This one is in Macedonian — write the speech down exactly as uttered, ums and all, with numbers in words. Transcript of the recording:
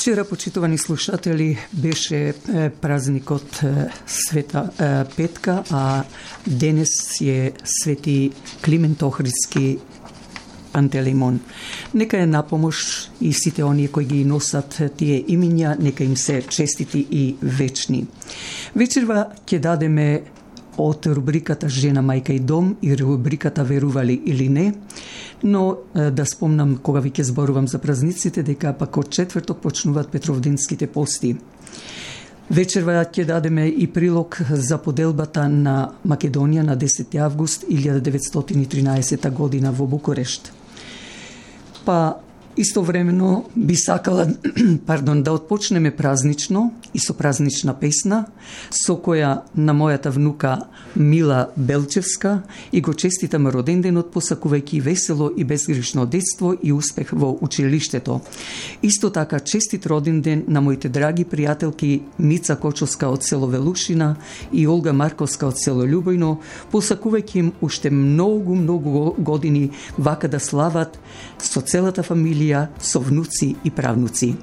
Вчера, почитувани слушатели, беше празникот Света Петка, а денес е Свети Климент Охридски Пантелеймон. Нека е напомош и сите оние кои ги носат тие имиња, нека им се честити и вечни. Вечерва ќе дадеме од рубриката Жена, мајка и дом и рубриката Верували или не, но да спомнам кога ви ќе зборувам за празниците, дека пак од четврток почнуваат Петровденските пости. Вечерва ќе дадеме и прилог за поделбата на Македонија на десети август илјада деветстотини и тринаесета година во Букурешт. Па истовремено би сакала пардон, да отпочнеме празнично и со празнична песна, со која на мојата внука Мила Белчевска и го честитам роденденот, посакувајќи весело и безгрешно детство и успех во училиштето. Исто така честит роденден на моите драги пријателки Мица Кочовска од село Велушина и Олга Марковска од село Љубојно, посакувајќи им уште многу, многу години вака да слават со целата фамилија, со внуци и правнуци.